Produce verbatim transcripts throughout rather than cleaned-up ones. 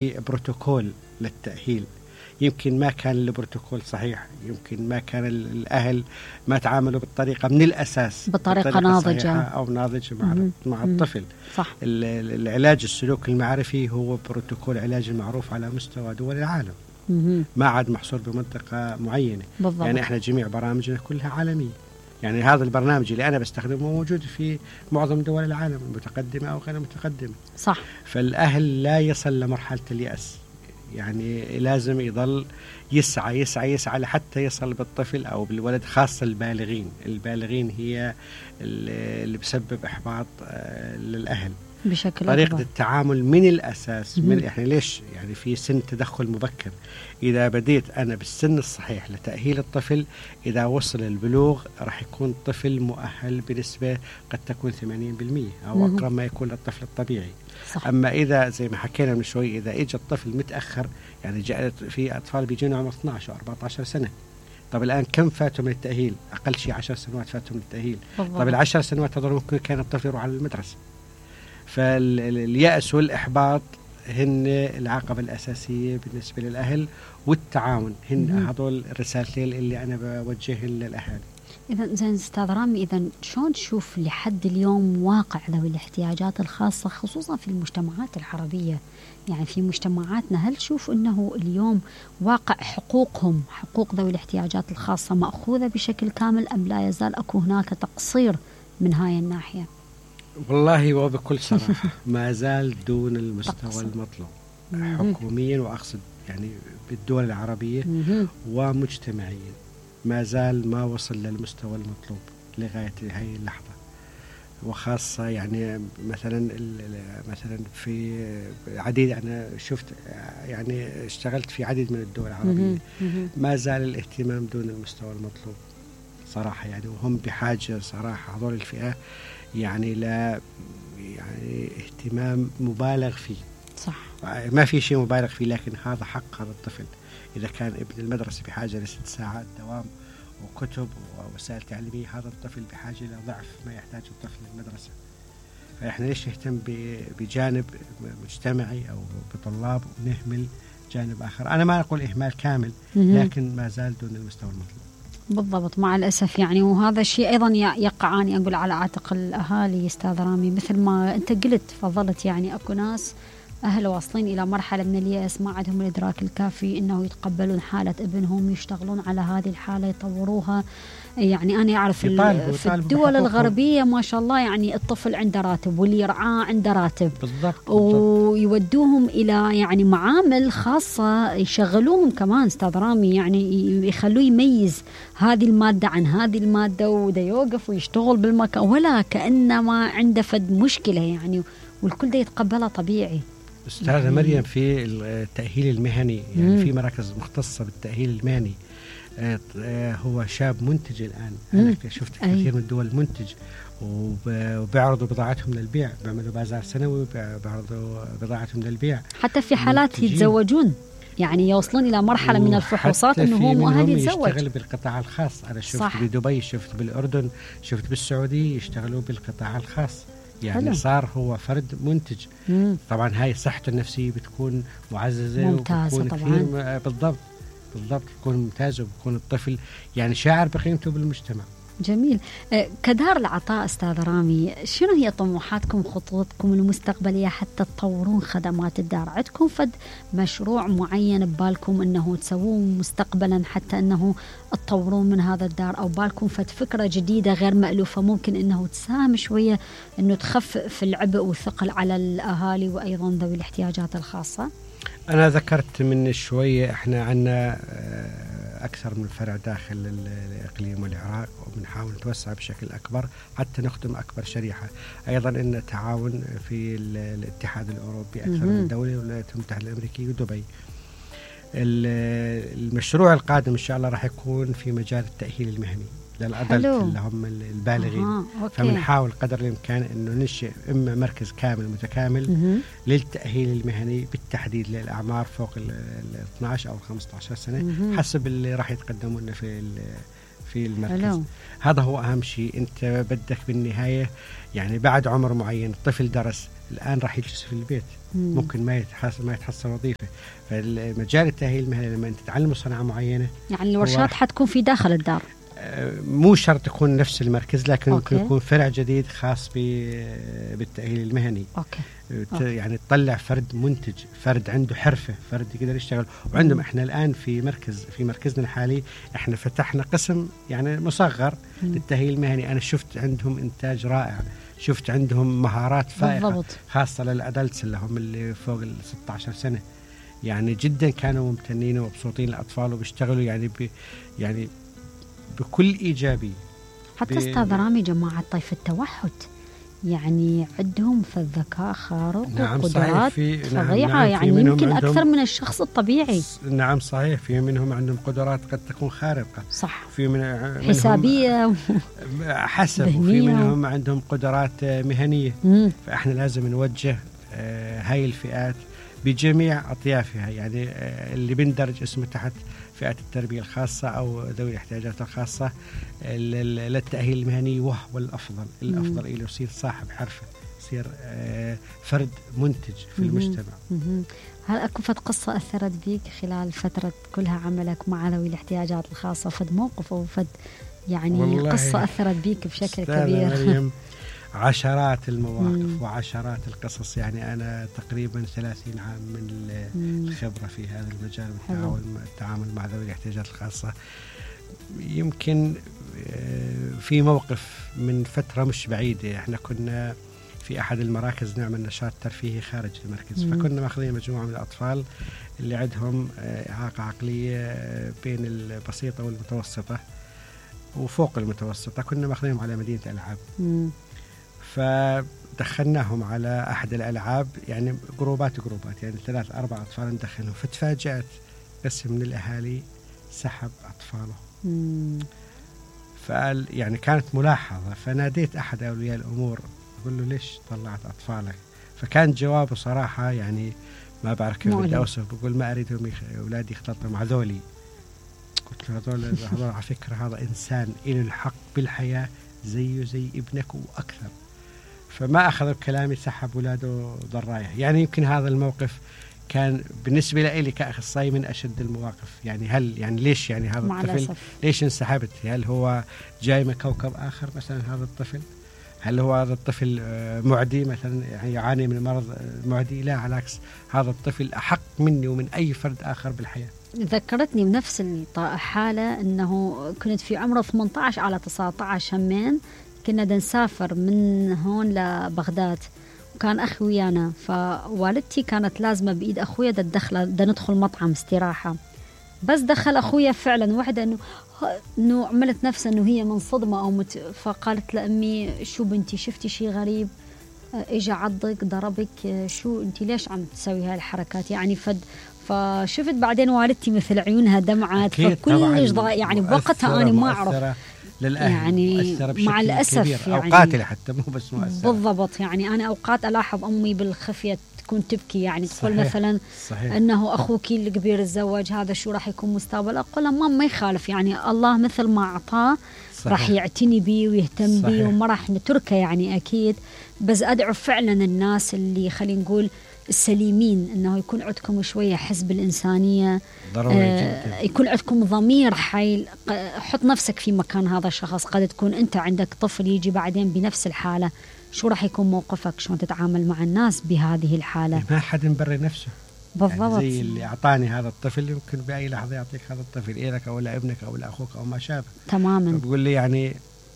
بروتوكول للتأهيل. يمكن ما كان البروتوكول صحيح، يمكن ما كان الأهل ما تعاملوا بالطريقة من الأساس بطريقة ناضجة أو ناضجة مع, مع الطفل. صح. العلاج السلوك المعرفي هو بروتوكول علاج المعروف على مستوى دول العالم، ما عاد محصور بمنطقة معينة. بالضبط. يعني احنا جميع برامجنا كلها عالمية، يعني هذا البرنامج اللي أنا بستخدمه موجود في معظم دول العالم المتقدمة أو غير المتقدمة. صح. فالأهل لا يصل لمرحلة اليأس، يعني لازم يضل يسعى يسعى يسعى لحتى يصل بالطفل أو بالولد، خاصة البالغين. البالغين هي اللي بسبب إحباط للأهل بشكل طريقة أكبر. التعامل من الأساس. من إحنا ليش يعني في سن تدخل مبكر؟ إذا بديت أنا بالسن الصحيح لتأهيل الطفل، إذا وصل البلوغ راح يكون طفل مؤهل بنسبة قد تكون ثمانين بالمئة أو أقرب ما يكون للطفل الطبيعي. صح. أما إذا زي ما حكينا من شوي، إذا إجا الطفل متأخر، يعني جاء في أطفال بيجون عمر اثني عشر وأربعة عشر سنة. طب الآن كم فاتوا من التأهيل؟ أقل شيء عشر سنوات فاتوا من التأهيل. بالضبط. طب العشر سنوات هذول ممكن كان الطفل يروح على المدرسة. فاليأس والإحباط هن العقبة الأساسية بالنسبة للأهل، والتعاون هن هذول الرسالتين اللي أنا بوجههم للأهالي. إذا زين أستاذ رامي، إذا شلون تشوف لحد اليوم واقع ذوي الاحتياجات الخاصة خصوصا في المجتمعات العربية؟ يعني في مجتمعاتنا هل تشوف أنه اليوم واقع حقوقهم، حقوق ذوي الاحتياجات الخاصة مأخوذة بشكل كامل، أم لا يزال أكو هناك تقصير من هاي الناحية؟ والله وبكل صراحة ما زال دون المستوى المطلوب حكوميا، وأقصد يعني بالدول العربية ومجتمعيا، ما زال ما وصل للمستوى المطلوب لغاية هاي اللحظة. وخاصة يعني مثلا مثلا في عديد، أنا شفت يعني اشتغلت في عديد من الدول العربية، ما زال الاهتمام دون المستوى المطلوب صراحة. يعني وهم بحاجة صراحة هذول الفئة يعني لا يعني اهتمام مبالغ فيه. صح. ما في شيء مبالغ فيه، لكن هذا حق هذا الطفل. إذا كان ابن المدرسة بحاجة لست ساعات دوام وكتب ووسائل تعليمية، هذا الطفل بحاجة إلى ضعف ما يحتاج الطفل المدرسة. فإحنا ليش نهتم بجانب مجتمعي أو بطلاب ونهمل جانب آخر؟ أنا ما أقول إهمال كامل، لكن ما زال دون المستوى المطلوب. بالضبط، مع الأسف يعني. وهذا الشيء أيضا يقع أني أقول على عاتق الأهالي أستاذ رامي، مثل ما أنت قلت فضلت. يعني أكو ناس أهل واصلين إلى مرحلة من اليأس، ما عندهم الإدراك الكافي أنه يتقبلون حالة ابنهم، يشتغلون على هذه الحالة يطوروها. يعني أنا أعرف في الدول الغربية ما شاء الله، يعني الطفل عنده راتب واللي يرعاه عنده راتب. بالضبط. ويودوهم إلى يعني معامل خاصة يشغلوهم كمان أستاذ رامي، يعني يخلوه يميز هذه المادة عن هذه المادة، وده يوقف ويشتغل بالمكان ولا كأنما عنده فد مشكلة يعني، والكل ده يتقبلها طبيعي. أستاذة مريم، في التأهيل المهني يعني مم. في مراكز مختصة بالتأهيل المهني. هو شاب منتج الآن. أنا شفت كثير من الدول منتج، وبيعرضوا بضاعتهم للبيع، بيعملوا بازار سنوي وبيعرضوا بضاعتهم للبيع. حتى في حالات يتزوجون، يعني يوصلون إلى مرحلة من الفحوصات أنه هو مؤهل يتزوج. يشتغل بالقطاع الخاص. أنا شفت صح. بدبي، شفت بالأردن، شفت بالسعودية يشتغلوا بالقطاع الخاص. يعني حلو. صار هو فرد منتج. مم. طبعا هاي صحته النفسية بتكون معززة ممتازة طبعا. بالضبط بالضبط تكون ممتازة، وبكون الطفل يعني شاعر بقيمته بالمجتمع. جميل. كدار العطاء أستاذ رامي، شنو هي طموحاتكم خطوطكم المستقبلية حتى تطورون خدمات الدار؟ عندكم فد مشروع معين ببالكم أنه تسووه مستقبلا حتى أنه تطورون من هذا الدار، أو بالكم فد فكرة جديدة غير مألوفة ممكن أنه تساهم شوية أنه تخفف العبء والثقل على الأهالي وأيضا ذوي الاحتياجات الخاصة؟ أنا ذكرت من شوية إحنا عنا أكثر من فرع داخل الإقليم والعراق، وبنحاول نتوسع بشكل أكبر حتى نخدم أكبر شريحة. أيضا إن تعاون في الاتحاد الأوروبي أكثر من دولة، والولايات المتحدة الأمريكية ودبي. المشروع القادم إن شاء الله راح يكون في مجال التأهيل المهني للأدلت اللي هم البالغين. آه، فبنحاول قدر الإمكان أنه ننشئ إما مركز كامل متكامل مم. للتأهيل المهني بالتحديد للأعمار فوق ال اثني عشر أو خمسة عشر سنة مم. حسب اللي راح يتقدمون في في المركز. حلو. هذا هو أهم شيء. أنت بدك بالنهاية يعني بعد عمر معين الطفل درس الآن راح يجلس في البيت، مم. ممكن ما يتحصل ما يتحصل وظيفة. فالمجال التأهيل المهني لما أنت تتعلم صنعة معينة، يعني الورشات حتكون في داخل الدار، مو شرط يكون نفس المركز، لكن أوكي. ممكن يكون فرع جديد خاص بالتأهيل المهني. أوكي. أوكي. يعني تطلع فرد منتج، فرد عنده حرفة، فرد يقدر يشتغل. وعندهم احنا الآن في مركز في مركزنا الحالي احنا فتحنا قسم يعني مصغر مم. للتأهيل المهني. أنا شفت عندهم إنتاج رائع، شفت عندهم مهارات فائقة بالضبط. خاصة للأدلتس اللي هم اللي فوق ال ستة عشر سنة، يعني جدا كانوا ممتنين ومبسوطين الأطفال وبيشتغلوا يعني ب يعني بكل إيجابي. حتى أستاذ رامي جماعة طيف التوحد يعني عندهم في الذكاء خارق نعم وقدرات فظيعة، نعم يعني يمكن أكثر من الشخص الطبيعي. نعم صحيح، في منهم عندهم قدرات قد تكون خارقة، صح، في من حسابية حسب، وفي منهم عندهم قدرات مهنية. مم. فإحنا لازم نوجه هاي الفئات بجميع أطيافها، يعني اللي بندرج اسمه تحت فئة التربية الخاصة أو ذوي الاحتياجات الخاصة للتأهيل المهني، وهو الأفضل الأفضل إلى يصير صاحب حرفة، يصير فرد منتج في مم. المجتمع. مم. هل أكو فد قصة أثرت بيك خلال فترة كلها عملك مع ذوي الاحتياجات الخاصة، فد موقف أو فد يعني قصة أثرت بيك بشكل كبير؟ عشرات المواقف مم. وعشرات القصص، يعني أنا تقريبا ثلاثين عام من الخبرة في هذا المجال والتعامل مع ذوي الاحتياجات الخاصة. يمكن في موقف من فترة مش بعيدة، احنا كنا في أحد المراكز نعمل نشاط ترفيهي خارج المركز، مم. فكنا ماخذين مجموعة من الأطفال اللي عندهم إعاقة عقلية بين البسيطة والمتوسطة وفوق المتوسطة، كنا ماخذينهم على مدينة ألعاب. مم. فدخلناهم على أحد الألعاب، يعني جروبات جروبات يعني ثلاث أربع أطفال ندخلهم، فتفاجأت قسم من الأهالي سحب أطفاله. مم. فقال يعني كانت ملاحظة، فناديت أحد أولياء الأمور أقول له ليش طلعت أطفالك؟ فكان جوابه صراحة يعني ما بعرف كيف بدي أوصف، بقول ما أريدهم يخ... أولادي يختلطوا مع ذولي. قلت له هذول هذول على فكرة هذا إنسان إله الحق بالحياة زيه زي ابنك وأكثر. فما أخذ بكلامي، سحب ولاده ضرايح. يعني يمكن هذا الموقف كان بالنسبة لي كأخصائي من أشد المواقف. يعني هل يعني ليش يعني هذا الطفل ليش انسحبت؟ هل هو جاي من كوكب آخر مثلا هذا الطفل؟ هل هو هذا الطفل معدي مثلا يعني يعاني من مرض معدي؟ لا، على العكس، هذا الطفل أحق مني ومن أي فرد آخر بالحياة. ذكرتني بنفس الحالة أنه كنت في عمره ثمانية عشر على تسعة عشر همين، كنا نسافر من هون لبغداد وكان أخي ويانا، فوالدتي كانت لازمة بإيد أخويا دا تدخل دا ندخل مطعم استراحة، بس دخل أخويا فعلا وحدة أنه إنه عملت نفسها أنه هي من صدمة أو مت، فقالت لأمي شو بنتي شفتي شيء غريب؟ إجا عضك ضربك؟ شو أنتي ليش عم تسوي هاي الحركات؟ يعني فد فشفت بعدين والدتي مثل عيونها دمعت، فكلش يعني بوقتها أنا ما أعرف يعني مع الأسف يعني أو قاتلة حتى مو بس مؤثرة بالضبط. يعني أنا أوقات ألاحظ أمي بالخفية تكون تبكي، يعني تقول مثلا صحيح. أنه أخوك الكبير الزواج هذا شو راح يكون مستقبل؟ أقول لها ما يخالف، يعني الله مثل ما أعطاه راح يعتني بيه ويهتم بيه وما راح نتركه يعني أكيد. بس أدعو فعلا الناس اللي خلينا نقول السليمين أنه يكون عندكم شوية حس بالإنسانية، آه يكون عندكم ضمير حي. حط نفسك في مكان هذا الشخص، قد تكون أنت عندك طفل يجي بعدين بنفس الحالة، شو راح يكون موقفك؟ شلون تتعامل مع الناس بهذه الحالة؟ ما حد مبرر نفسه بالضبط. يعني زي اللي أعطاني هذا الطفل يمكن بأي لحظة يعطيك هذا الطفل إلك أو لابنك أو لأخوك أو ما شابه تماما. بقول لي يعني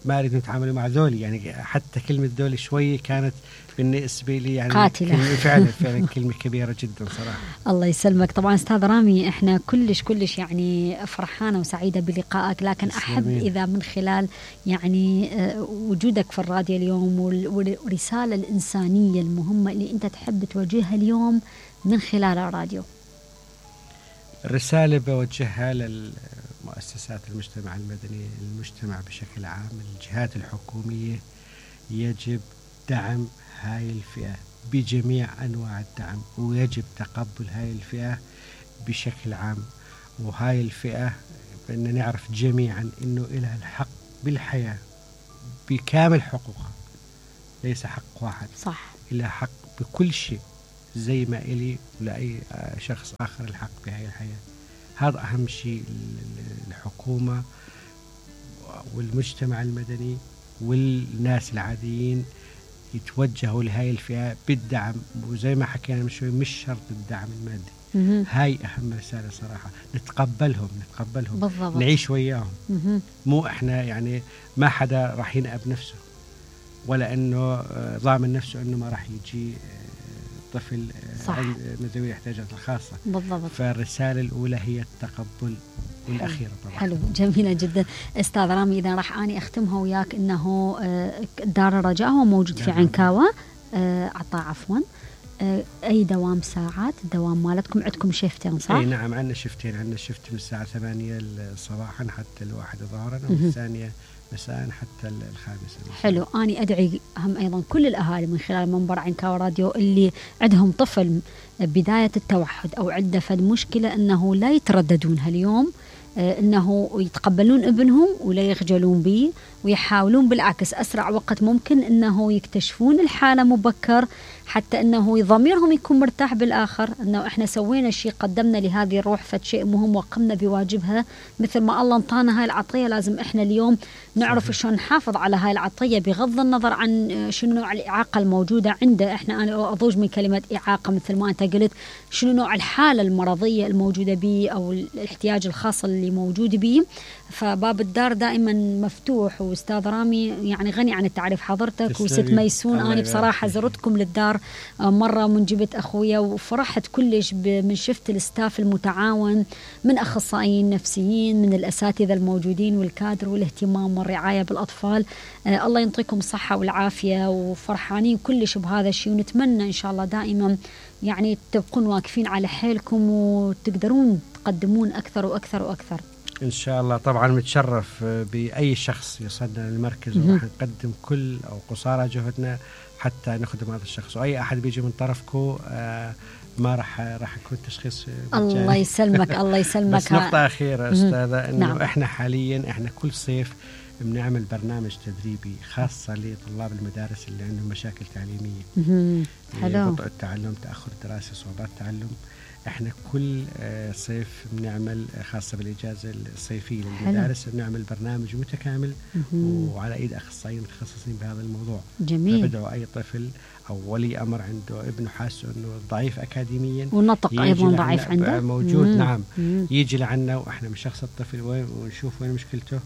ما أريد نتعامل مع ذولي، يعني حتى كلمة ذولي شوي كانت بالنسبة لي يعني قاتلة فعلا فعلا كلمة كبيرة جدا صراحة. الله يسلمك. طبعا أستاذ رامي إحنا كلش كلش يعني فرحانة وسعيدة بلقائك، لكن أحب إذا من خلال يعني وجودك في الراديو اليوم والرسالة الإنسانية المهمة اللي أنت تحب توجهها اليوم من خلال الراديو. الرسالة بوجهها للمؤسسات المجتمع المدني، المجتمع بشكل عام، الجهات الحكومية، يجب دعم هاي الفئة بجميع أنواع الدعم، ويجب تقبل هاي الفئة بشكل عام. وهاي الفئة بدنا نعرف جميعا إنه إلها الحق بالحياة بكامل حقوقها، ليس حق واحد، صح، إلها حق بكل شيء زي ما إلي ولأي شخص آخر الحق بهاي الحياة. هذا أهم شيء الحكومة والمجتمع المدني والناس العاديين يتوجهوا لهاي الفئة بالدعم، وزي ما حكينا من شوي مش شرط الدعم المادي. مم. هاي أهم رسالة صراحة، نتقبلهم نتقبلهم بالضبط. نعيش وياهم. مم. مو إحنا يعني ما حدا راح ينأب نفسه ولا إنه ضامن نفسه إنه ما راح يجي طفل من ذوي الاحتياجات الخاصة. بالضبط. فالرسالة الأولى هي التقبل والأخيرة طبعا. حلو، جميلة جدا أستاذ رامي. إذا راح أني أختمها وياك إنه دار الرجاء هو موجود في عنكاوة عطاء عفوا. أي دوام ساعات الدوام مالتكم؟ عندكم شيفتين صح؟ أي نعم عندنا شيفتين، عندنا شيفت من الساعة ثمانية صباحا حتى الواحدة ظهرا، والثانية مساء حتى الخامسة. حلو. أنا أدعي هم أيضا كل الأهالي من خلال منبر عنكاوة راديو اللي عندهم طفل بداية التوحد أو عنده فد مشكلة أنه لا يترددون هاليوم، أنه يتقبلون ابنهم ولا يخجلون به، ويحاولون بالعكس أسرع وقت ممكن أنه يكتشفون الحالة مبكر، حتى أنه ضميرهم يكون مرتاح بالآخر، أنه إحنا سوينا شيء، قدمنا لهذه الروح فد شيء مهم وقمنا بواجبها. مثل ما الله انطانا هاي العطية لازم إحنا اليوم نعرف شلون نحافظ على هاي العطية بغض النظر عن شنو نوع الإعاقة الموجودة عنده. إحنا أنا أضوج من كلمة إعاقة مثل ما أنت قلت، شنو نوع الحالة المرضية الموجودة به أو الاحتياج الخاص اللي موجود به. فباب الدار دائما مفتوح. وأستاذ رامي يعني غني عن التعريف حضرتك وست ميسون. أنا بصراحة زرتكم للدار مرة من جبت أخويا وفرحت كلش من شفت الستاف المتعاون من أخصائيين نفسيين من الأساتذة الموجودين والكادر والاهتمام والرعاية بالأطفال. آه الله ينطيكم الصحة والعافية، وفرحانين كلش بهذا الشيء، ونتمنى إن شاء الله دائما يعني تبقون واقفين على حيلكم وتقدرون تقدمون أكثر وأكثر وأكثر إن شاء الله. طبعا متشرف بأي شخص يصلنا للمركز، وراح نقدم كل أو قصارى جهدنا حتى نخدم هذا الشخص. وأي أحد بيجي من طرفكم آه ما راح راح يكون تشخيص مجاني. الله يسلمك الله يسلمك. بس نقطة أخيرة أستاذة، إنه نعم. إحنا حاليا إحنا كل صيف بنعمل برنامج تدريبي خاصة لطلاب المدارس اللي عندهم مشاكل تعليمية، حلو، بطء التعلم، تأخر الدراسة، صعوبات التعلم. احنا كل صيف بنعمل خاصة بالإجازة الصيفية للمدارس بنعمل برنامج متكامل وعلى ايد اخصائيين متخصصين بهذا الموضوع. جميل. فبدأوا اي طفل او ولي امر عنده ابنه حاسه انه ضعيف اكاديميا والنطق ايضا ضعيف عنده موجود مم. نعم مم. يجي لعنا واحنا بنشخص الطفل وين ونشوف وين مشكلته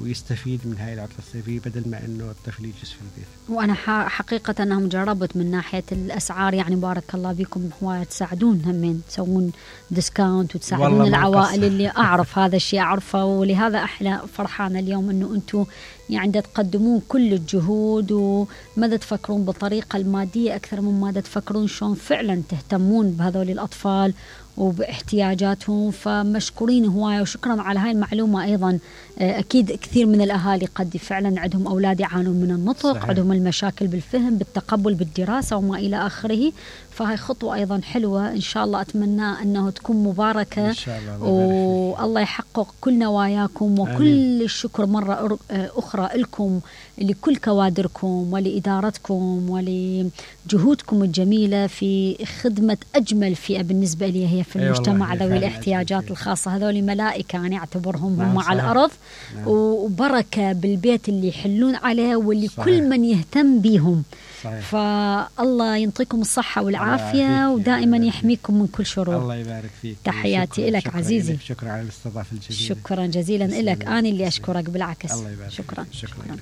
ويستفيد من هاي العطلة الصيفية بدل ما انه الطفل يجلس في البيت. وانا حقيقة انهم جربت من ناحية الاسعار، يعني بارك الله بكم هواية تساعدون همين تسوون ديسكاونت وتساعدون العوائل اللي اعرف هذا الشيء اعرفه، ولهذا احنا فرحانة اليوم انه انتم يعني تقدمون كل الجهود وماذا تفكرون بالطريقة المادية اكثر من ماذا تفكرون شلون فعلا تهتمون بهذول الاطفال وباحتياجاتهم. فمشكورين هواية وشكرا على هاي المعلومة. أيضا أكيد كثير من الأهالي قد فعلا عندهم أولاد يعانون من النطق، صحيح. عندهم المشاكل بالفهم بالتقبل بالدراسة وما إلى آخره. فهاي خطوة أيضا حلوة إن شاء الله، أتمنى أنه تكون مباركة إن شاء الله، والله يحقق كل نواياكم. وكل آمين. الشكر مرة أخرى لكم لكل كوادركم ولإدارتكم ولجهودكم الجميلة في خدمة أجمل فئة بالنسبة لي هي في المجتمع ذوي الاحتياجات الخاصة. هذول ملائكة أنا أعتبرهم هم على الأرض، نعم. وبركة بالبيت اللي يحلون عليه واللي صحيح. كل من يهتم بهم صحيح. فالله ينطيكم الصحة والعافية ودائما يحميكم من كل شرور. الله يبارك فيك. تحياتي لك عزيزي. شكرا على الاستضافة الجميلة. شكرا جزيلا لك. أنا اللي أشكرك بالعكس. الله يبارك شكرا. شكرا, شكرا.